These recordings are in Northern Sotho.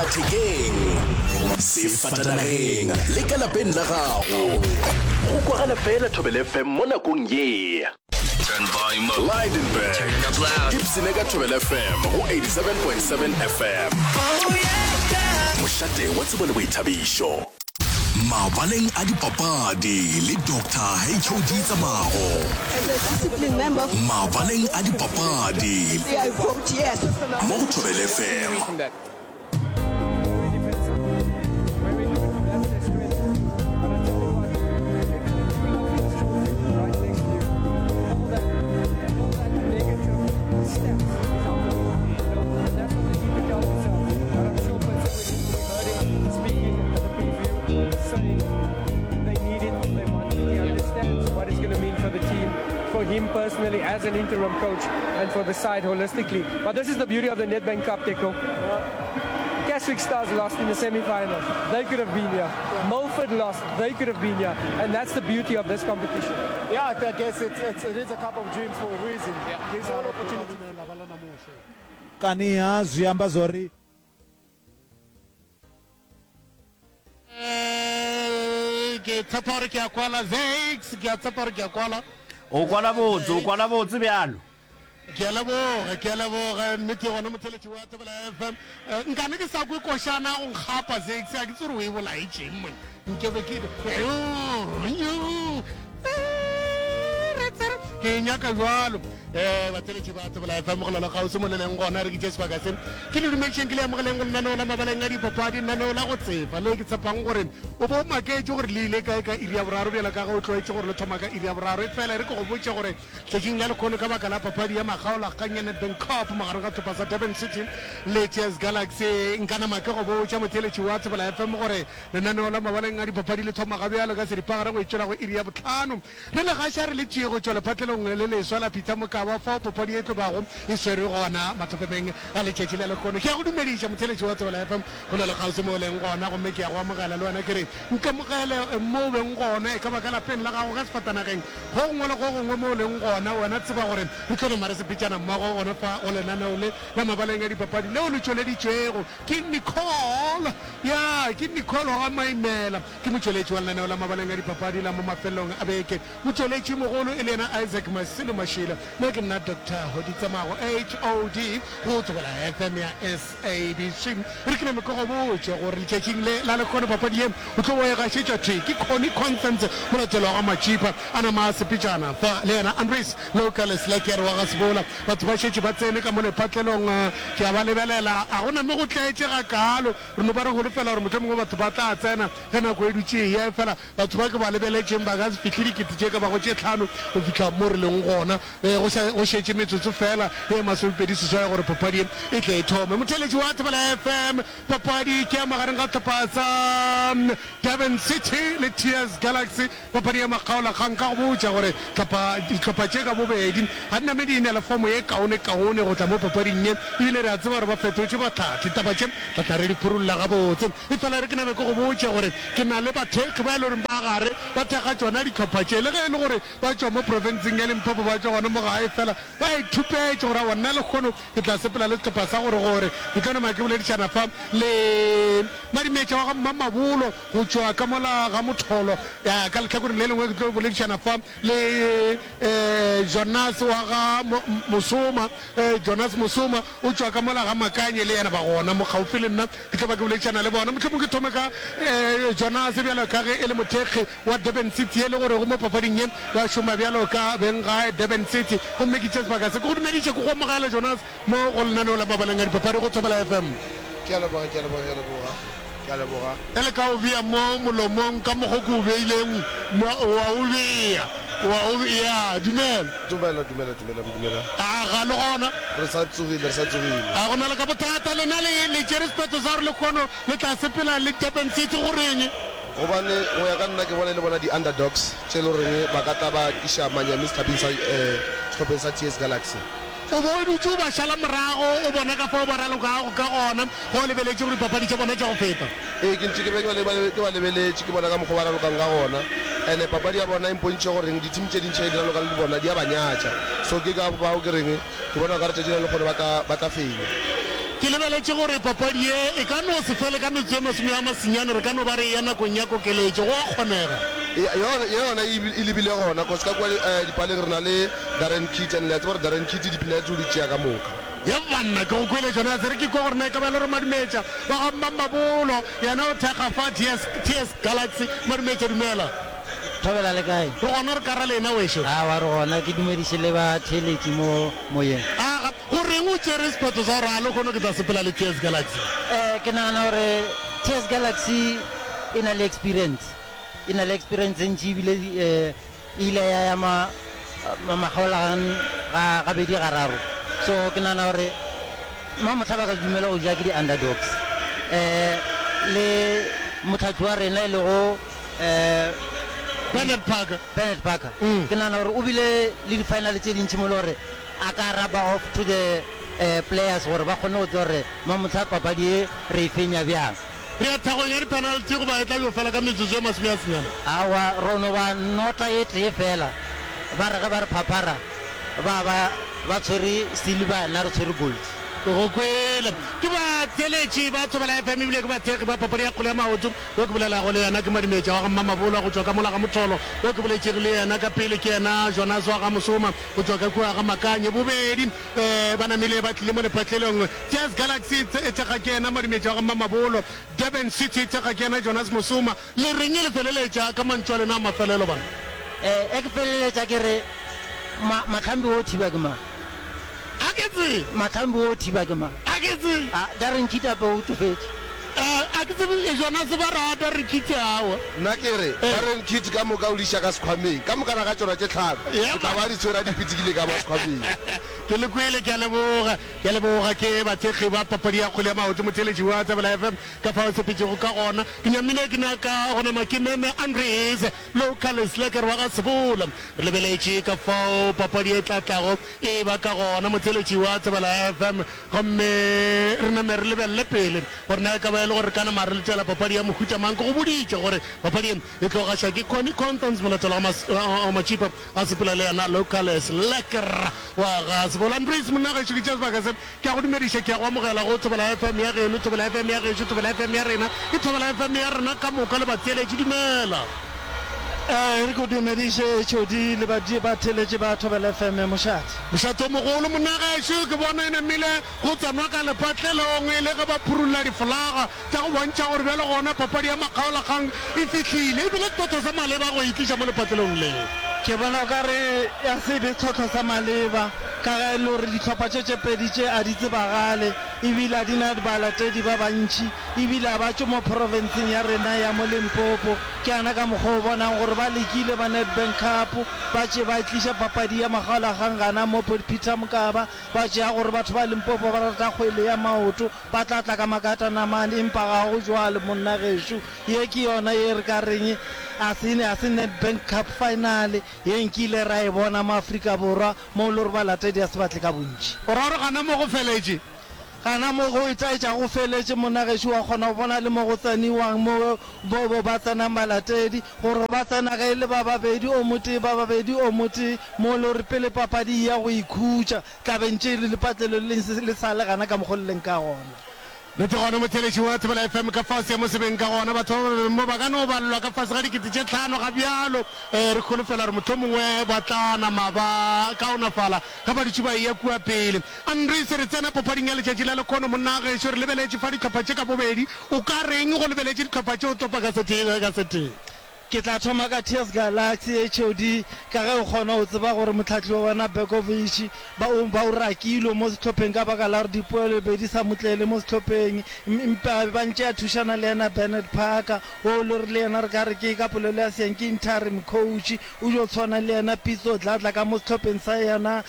Sellathekeng, sefatanageng le ka lapeng la gago. Go kwagala fela Thobela FM mo nakong ye. Lydenburg, ipsene ka Thobela FM go 87.7 FM. Mošate wa tsebo le boithabišo. Mabaleng a dipapadi le Doctor HOD Tsamago. Mabaleng a dipapadi mo go Thobela FM. For him personally as an interim coach and for the side holistically. But this is the beauty of the Nedbank Cup, Teko. Casric Stars lost in the semi-final. They could have been here. Milford lost. They could have been here. And that's the beauty of this competition. Yeah, I guess it's, it's, it is a cup of dreams for a reason. Yeah. There's all opportunity. Kani-ha zwi amba zwa uri. Ke tshepa gore ke a kwala Zakes, ke a tshepa gore ke a kwala. O kwala botse, o kwala botse bjalo. Ke a leboga, ke a leboga. Nnete gona motheletši wa Thobela FM. Eh, nkane ke sa kwe košana go nkgapa Zakes, a ke tsore o e bolaetšeng mone. Nke be ke ke e nyaka bjalo. Eh, batheletši ba Thobela FM go lona kgauswi mo le leng gona re kitše sebaka se. Ke le dumetšeng ke le amogeleng go lenaneo la mabaleng a dipapadi, lenaneo la go tsefa le ke tshepang gore o bo o maketše gore le ile kae ka iri ya boraro bjalo ka ge o tlwaetše gore le thoma ka iri ya boraro. Efela e re ke go botše gore Tšatšing la lekgono ka baka la papadi ya makgaolakgang ya Nedbank Cup magareng ga sehlopha sa Durban City le TS Galaxy, nka nama ke go botša motheeletši wa Thobela FM gore lenaneo la mabaleng a dipapadi le thoma gabjalo ka seripagare go itšwela go iri ya bohlano. Re le gaša re le tšee go tšwa lephatlelong le leswa la Peter Mokaba fao papadi e tlo bago e swerwe gona mathopemeng a letšatši la lekgono. Ke a go dumediša motheeletši wa Thobela FM go le lekgauswi mo o leng gona gomme ke a go amogela le wena ke re nkamogele mo o beng gona e ka ba ka lapeng la gago ka sefatanageng Go gongwe le go gongwe mo o leng gona, wena tseba gore re tlo nama re sepetšana mmogo gona fa go lenaneo le la mabaleng a dipapadi leo le tšweleditšwego ke Nicole. Ya, ke Nicole wa ga Maimela. Ke motšweletši wa lenaneo la mabaleng a dipapadi la mo mafelelong a beke. Motšweletši mogolo e le yena Isaac Masilo Mashilo. Nna ke nna Doctor Hoditsamago, HOD, go Thobela FM ya SABC. Re ke name ke go botše gore letšatšing le la lekgono papadi ye o tlo bo e gašetšwa thwi ke Connie Constance, molatelwa wa ga Matšipa, a nama a sepetšana fa le yena Andries Local Slacker wa ga Sebola. Batho ba šetše ba tsene ka mo lephatlelong, ke a ba lebelela, a go name go tletše gakaalo. Re no ba re holofela gore mohlomongwe batho ba tla tsena ge nako e dutše e eya, efela batho ba ke ba lebeletšeng ba ka se fihle dikete tše ka bago tše tlhano go fihla mo re leng gona. Go sa go šetše metsotso feela ye masomepedi seswai gore papadi ye e tle e thome. Motheeletši wa Thobela FM, papadi ke ya magareng ga sehlopha sa Durban City le TS Galaxy, papadi ya makgaolakgang. Ka go botša gore hlopha dihlopha tše ka bobedi ga di name di e na le fomo ye kaonekaone go tla mo papading ye, ebile re a tseba gore ba fetotše bahlahli. Taba tše re tla re di phurulla gabotse. Efela re ke name ke go botše gore ke na le bathekgi ba e le goreng ba gare ba thekga tšona dihlopha tše, le ge e le gore Ba tšwa mo profenseng ya Limpopo, ba tšwa gona mo gae, fela ba ithupetše gore aowa nna lehono ke tla sepela le sehlopha sa gore gore. Ke tlo nama ke boledišana fa le Madimetša wa ga Mmamabolo go tšwa ka mola ga Motholo. Ya, ka lehlakoreng le lengwe ke tlo boledišana fa le Jonas wa ga Mosoma, Jonas Mosoma o tšwa ka mola ga Makanye, le yena ba gona mo kgaufsi le nna. Ke tlo ba ke boledišana le bona. Mohlomong ke thome ka Jonas bjalo ka ge e le mothekgi wa Durban City e le gore go mo papading ye ba šoma bjalo ka beng gae Durban City. Gomme ke tšea sebaka se ke go dumediše, ke go amogele Jonas mo go lenaneo la Mabaleng a Dipapadi go Thobela FM. Ke a leboga, ke a leboga, ke a leboga, ke a leboga. E le ka o bea mo molomong ka mokgo ke o beileng mo, wa o bea, wa o bea. Dumela. Dumela, dumela, dumela, dumela. A ga le gona? Re sa tsogile, re sa tsogile. A go na le ka bothata? Lena le, le tšere sephetho sa gore lehono le tla sepela le Durban City, go reng? Gobane go ya ka nna ke bona e le bona di-underdogs tše e le goreng ba ka tla ba tliša manyami sehlapeng sa sehlopheng sa TS Galaxy. O be o dutše o ba šala morago, o bona ka fao ba ralokago ka gona ge o lebeletše go dipapadi tša bona tša go feta. Ee, ke ntše ke be ke ba lebeletše, ke bona ka mokgwa o ba ralokang ka gona. And-e papadi ya bona e mpontšhitše goreng di-team tše dintši ge di raloka le bona di a ba nyatša. So ke ka fao ke reng ke bona okare tšatši la lehono ba tla ba tla fenya. Ke lebeletše gore papadi ye e ka no se fele ka metsotso e masome a masenyane, re ka no ba re eya nakong ya kokeletšo. Go a kgonega. Yona, yona e, e lebile gona, cause ka kua dipaleng re na le Darren Keet, and le a tseba gore Darren Keet di-penalty o di tšea ka moka. Ye banna, ke go kwele Jonase, re ke kwa gore na e ka ba e le gore Madumetša wa ga Mmamabolo yena o thekga fa TS, TS Galaxy. Madumetša, dumela. Thobela le kae? Re gona re kara lena wešo. Aowa re gona, ke dumediše le batheeletši mo moyeng. Aga, Go reng o tšere sephetho sa gore a lehono ke tla sepela le TS Galaxy? Ke nagana gore TS Galaxy e na le experience, e na le experience e ntši ebile e ile ya ya makgaolakgang ga gabedi gararo. So ke nagana gore mamohla ba ka se dumele go ja ke di-underdogs. Le mohlahli wa rena e lego Bernard Parker. Bernard Parker, ke nagana gore o bile le di-final tše dintši mo e le gore a ka rubber off to the players gore ba kgone go tseba gore mamohla papadi ye re e fenya bjang. Re ya thagong ya di-penalty goba e tla yo fela ka metsotso e masome a senyane? Aowa, ro no ba nota e tee fela. Ba re ge ba re phaphara ba ba ba tshwere silver nna re tshwere gold. Ke go kwele. Ke batheeletši ba Thobela FM ebile ke bathekgi ba papadi ya kgwele ya maoto. Yo ke bolelago le yena ke Madimetša wa ga Mmamabola go tšwa ka mola ga Motholo. Yo ke boletšego le yena ka pele ke yena Jonas wa ga Mosoma. Go tšwa ka kua ga Makanye, bobedi ba namile ba tlile mo lepatlelong. TS Galaxy e thekga ke yena Madimetša wa ga Mmamabolo, Durban City e thekga ke yena Jonas Mosoma. Le reng le feleletša ka mantšu a lena a mafelelo bana? Ge ke feleletša ke re, Ma, Mahlambi o thiba ke mang? A ke tsebe. Mahlambi o thiba ke mang? A ke tsebe. A, Darren Kitty o tšofetše. A ke tsebe Jonas ba re a Darren Kitty aowa. Nna ke re, Darren Kitty ka moka o di iša ka sekhwameng. Ka mokana ga tšona tše tlhano, o tla ba a di tshwere a di pitikile ka mo sekhwameng. Ke le kwele, ke a leboga. Ke a leboga. Ke bathekgi ba papadi ya kgwele ya maoto, motheeletši wa Tsebela FM, ka fao e sepetšego ka gona. Ke nyamile ke nyaka go nama ke meme Andries Local Slacker wa ga Sebola. Re lebeletše ka fao papadi e tla tlago e ba ka gona, motheeletši wa Tsebela FM. Gomme re name re lebelele pele gore na e ka ba e le gore re ka nama re letela papadi ya mohuta mang. Ke go boditše gore papadi ye e tlo gašwa ke Connie Constance Molatelo wa Matšipa a sepela le yena Locales Lekker wa ga Sebola. Andries monna gešo ke tšea sebaka se ke a go dumediša, ke a go amogela go Thobela FM ya geno, Thobela FM ya gešo, Thobela FM ya rena, ke Thobela FM ya rena ka moka le batheeletši. Dumela. Ee, re go dumediše HOD le batheeletši ba Thobela FM mošate. Mošate o mogolo, monna gešo, ke bona e namile go tsenwa ka lepatlelong e le ge ba phurulla difolaga tša go bontšha gore bjale gona papadi ya makgaolakgang e fihlile. E bile setlhohlo sa maleba go e tliša mo lepatlelong le. Ke bona o ka re ya se be setlhohlo sa maleba ka ge e le gore dihlopha tše tše pedi tše a di tsebagale ebile a di na balatedi ba bantši ebile a ba tšwe mo profenseng ya rena ya mo Limpopo. Ke yana ka mokgwa o bonang gore ba lekile ba Nedbank Cup ba tše ba tliša papadi ya makgaolakgang gana mo Peter Mokaba, ba tšea gore batho ba Limpopo ba rata kgwele ya maoto, ba tla tla ka makatanamane, empa ga go jwalo monna gešo. Ye ke yona ye re ka reng a se, a se Nedbank Cup final ye nkile ra e bona mo Afrika Borwa mo e le gore balatedi a se ba tle ka bontši. O ra gore gana mo go feletše? Gana mo go itaetša go feletše monna gešo, wa kgona go bona le mo go tseniwang mo bo, bo ba tsenang balatedi, gore ba tsena ge e le ba babedi o motee, ba babedi o motee, mo e le gore pele papadi e ya go ikhutša, tla be ntše e le lepatlelo le leng le sa le gana ka mokgo le leng ka gona. Nnete gona motheeletši wa Thobela FM ka fao seemo se beng ka gona, batho ba ba beng mo ba ka no balelwa ka fase ga 5000 ga bjalo. Re holofela gore mohlomongwe ba tla nama ba kaonafala ge ba dutše ba eya kua pele. Andries, re tsena papading ya letšatši la lekhono monna gešo, re lebeletše fa dihlopha tše ka bobedi. O ka reng go lebeletše dihlopha tše o topa ka setee ka setee? Ke tla thoma ka TS Galaxy, HOD, ka ge o kgona go tseba gore mohlahli wa bona Begovic ba o ba o rakilwe mo sehlopheng ka baka la gore dipoelo be di sa mo tlele mo sehlopheng. Empa ba ntše a thušana le yena Bernard Parker wo le gore le yena re ka re ke ka polelo ya seeng ke interim coach, o yo tshwana le yena Pitso Dladla ka mo sehlopheng sa yena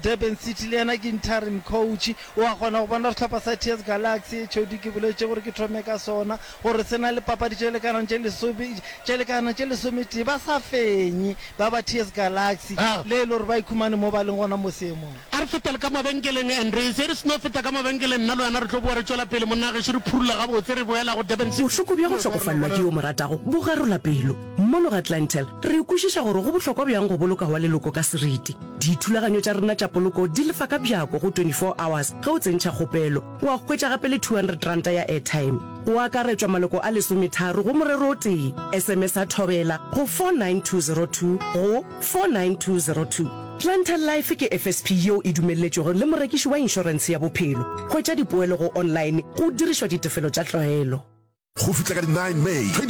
Durban City le yena ke interim coach. O a kgona go bona sehlopha sa TS Galaxy, HOD, ke boletše gore ke thome ka sona, gore se na le papadi tše lekanang tše lesome, tše lekanang tše lesometee, ba sa fenye ba ba TS Galaxy, le e le gore ba ikhumane mo ba leng gona mo seemong. re fetele ka mabenkeleng Andries. Ge re seno feta ka mabenkeleng nna le wena re tlo boa re tšwela pele monna gešo re phurulla gabotse re boela go Durban City. Bohloko bja go hlokofalelwa ke yo o mo ratago bo garola pelo. Mono ga Clientele, re kwešiša gore go bohlokwa bjang go boloka wa leloko ka seriti. Dithulaganyo tša rena tša poloko di lefa ka bjako go 24 hours ge o tsentšha kgopelo. Wa hwetša gape le R200 ya airtime. Go akaretšwa maloko a lesometharo go morero o tee. SMS-a Thobela go 49202 go 49202. Clientele Life ke FSP yeo e dumelletšwego le morekiši wa inšorentshe ya bophelo. Hwetša dipoelo go online go dirišwa ditefelo tša tlwaelo. Go fihla ka di nine May 2024.